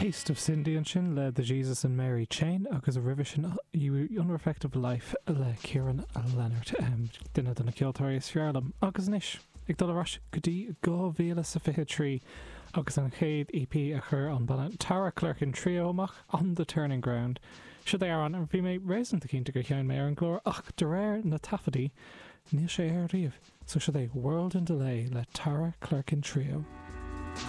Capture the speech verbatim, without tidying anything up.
Taste of Cindy ansin le The Jesus and Mary Chain agus roimhe sin Unreflective Life le Ciaran Leonard um, duine de na ceoltóirí is fearr liom agus anois ag dul ar ais go dtí dhá mhíle is a fiche trí agus an chéad EP a chuir an banna Tara Clerkin Trio amach on the Turning Ground. Seo é amhrán bhí mé réasúnta cinnte gur sheinn mé ar an gclár ach de réir na taifeadtaí níl sé ar riamh, so seo é World in Delay le Tara Clerkin Trio.